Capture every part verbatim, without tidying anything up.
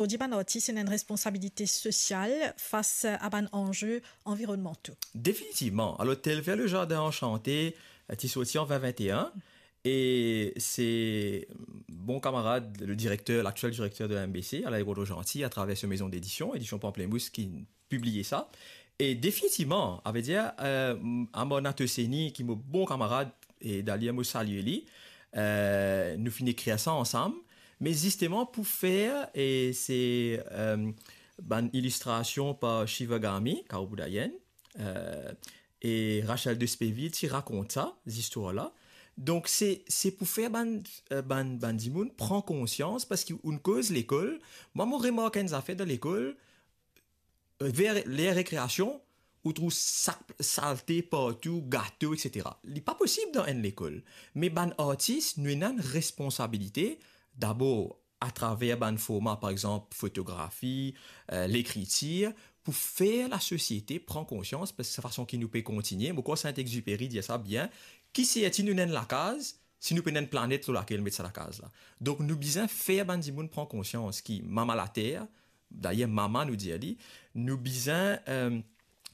zordi bann artis ena enn responsabilite sosial fas a bann anze anvironmanto? Definitivman. Alor, Telfer Le Jardin Enchanté, eh, ti sorti an vingt vingt et un, e se bon kamarad, le direkter, laktiel direkter de la M B C, Alain Rodo-Gentil, atraver so mezon dedision, Edition Pamplemousse, ki pibliye sa. E definitivman, savedir, eh, Amornath Hosseini, ki mo bon kamarad, e dayer mo salie li, eh, nou finn ekrir sa ansam, me zisteman pou fer, e se, eh, bann ilistrasion par Shiva Ghami, Karou Boudayenn, eh, e Rachel Despeville ti rakont sa, zistwar la. Donk, se, se pou fer bann, eh, bann, bann dimoun pran konsians, parski ou'nn koz lekol. Mwa, mo remark enn zafer dan lekol, eh, ver ler rekreasion, ou trouv sa-, salte partou, gato, et cetera. Li pa posib dan enn lekol. Me bann artis, nou ena enn responsabilite, dabor atraver bann forma, par exanp, fotografi, eh, lekritir, pou fer lasosiete pran konsians, parski sa fason ki nou pe kontigne. Mo krwar Saint-Exupéry dir sa bien, ki serti nou ena enn lakaz, si nou pena enn planet lor lakel met sa lakaz la. Donk, nou bizin fer bann dimoun pran konsians ki mama later, dayer mama nou dir li, nou bizin, eh,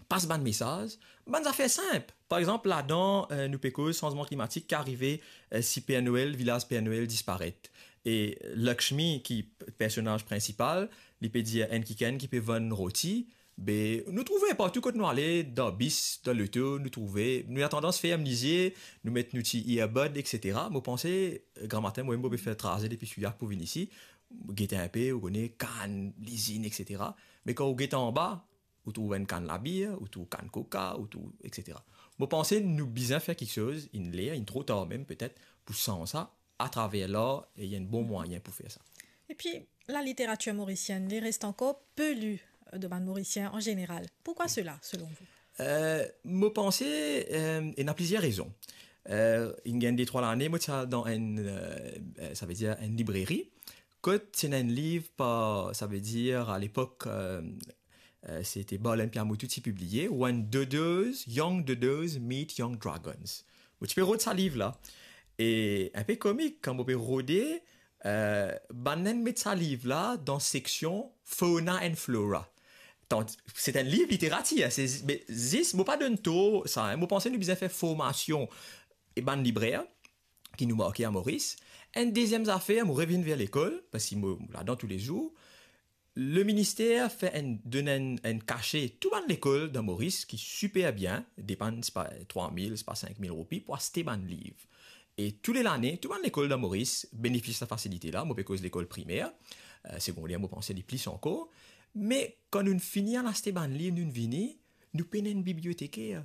pas bann mesaz, bann zafer sinp. Par exanp, ladan, eh, nou pe koz sanzman klimatik ki arive, eh, si Père Noël, vilaz Père Noël disparet. E Lakshmi, ki p-, personaz prinsipal, li pe dir enn kikenn ki pe vann roti, be, nou trouve partou kot nou ale, dan bis, dan loto, nou trouve, nou ena tandans ferm lizie, nou met nou ti earbud, et cetera. Mo panse, eh, gramatin, mwa, mo pe fer traze depi Souillac pou vinn isi, get inpe, ou kone, kann, lizinn, et cetera. Me kan ou get anba, ou trouv enn kann labir, ou trouv kann koka, ou trouv, et cetera. Mo panse nou bizin fer kiksoz, inn ler, inn tro tar mem petet, pou sanz sa, atraver lar, e ena enn bon mwayin pou fer sa. Epi, laliteratir morisienn, li res ankor pe li, eh, de bann Morisien an zeneral. Pourkwa sela, selon vou? Eh, mo panse, eh, ena plizier rezon. Eh, inn gagn de trwa lane, mo ti al dan enn, eh, eh, savedir enn libreri, kot ti ena enn liv par, savedir, a lepok, eh, eh, se ti Barlen Pyamuttu ti pibliye, When Dodos, Young Dodos Meet Young Dragons. Mo ti pe rod sa liv la. E inpe komik, kan mo pe rode, eh, bann inn met sa liv la dan seksion Fauna and Flora. Tan-, se enn liv literatir, se zi-, me zis, mo pa donn tor sa, en. Mo panse nou bizin fer formasion e bann librer ki nou marke a Moris. Enn deziem zafer, mo revinn ver lekol, parski mo ladan toulezour. Leminister fer enn, donn enn, enn kase tou bann lekol dan Moris ki siper bien, depann, sepa trwa mil, sepa sink mil roupi pou aste bann liv. E tou le lane, tou bann lekol dan Moris benefis sa fasilite la. Mo pe koz lekol primer, eh, segonder, mo panse li plis ankor. Me kan nou fini al aste bann liv, nou vini, nou pena enn biblioteker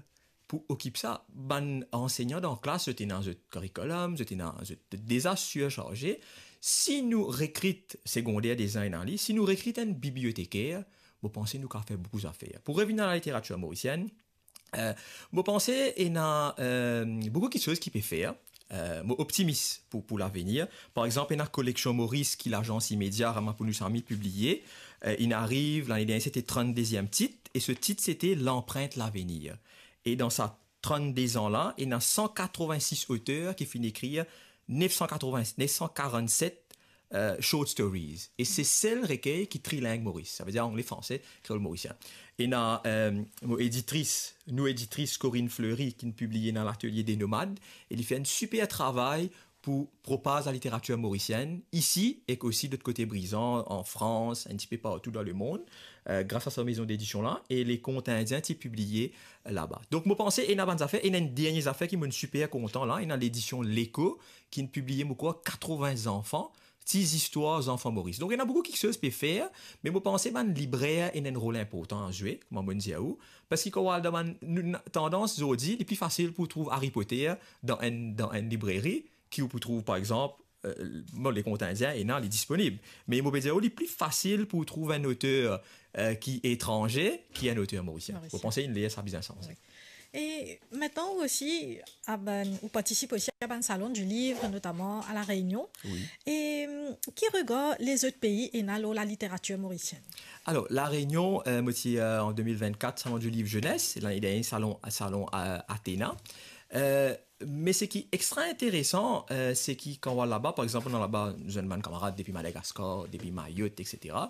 pou okip sa. Bann ansegnan dan klas, zot ena zot karikolom, zot ena zot deza sirsarze. Si nou rekrit, segonder deza ena li, si nou rekrit enn biblioteker, mo panse nou kapav fer boukou zafer. Pou revinn a laliteratir morisienn, eh, mo panse ena, eh, boukou kiksoz ki pe fer. Eh, mo optimis pou, pou lavenir. Par exanp, ena koleksion Moris ki Lazans Imedia Ramapounousameed pibliye. Eh, inn ariv, lane dernie, sete trann-deziem tit, e so tit, sete Lanprint Lavenir. E dan sa trann-de-an la, ena san katrovin-sis oter ki finn ekrir nef san katrovin, nef san karannset, eh, short stories. E se sel rekey ki triling Moris, savedir angle, franse, kreol, morisien. Ena, eh, mo editris, nou editris Corinne Fleury, ki'nn pibliye dan Latelie des Nomades, e li fer enn siper travay pou propaz laliteratir morisienn isi, ek osi lot kote Brizan, an Frans, enn tipe partou dan lemond, eh, gras a sa mezon dedision la, e Le Conte Indien ti pibliye laba. Donk, mo panse, ena bann zafer, ena enn dernie zafer ki mo'nn siper kontan la, ena ledision L'Echo, ki'nn pibliye, mo krwar, katrovin zanfan, ti zistwar zanfan Moris. Donk, ena boukou kiksoz pe fer, me mo panse bann librer ena enn rol inportan a zwe, kouma mo'nn dir ou, parski kan ou al dan bann, nou, tandans zordi, li pli fasil pou trouv Harry Potter dan enn, dan enn libreri, ki ou pou trouv, par exanp, eh, bon, Le Conte Indien, ena, li disponib. Me mo pe dir ou, li pli fasil pou trouv enn oter, eh, ki etranze, ki enn oter morisien. Morisien. Mo panse inn ler sa bizin sanze. Wi. E mintnan, ou osi, a bann, ou partisip osi a bann Salon du Livre, notaman a La Réunion. Wi. E, mm, ki regar lezot pei ena lor laliteratir morisienn? Alor, La Réunion, eh, mo ti, eh, an de mil vinn-kat, Salon du Livre Jeunesse, lane dernie, Salon, Salon, eh, Athéna. Eh, Me seki extra interesan, eh, seki kan ou al laba, par exanp, nou laba, nou zwenn bann kamarad depi Madagaskar, depi Mayotte, et cetera.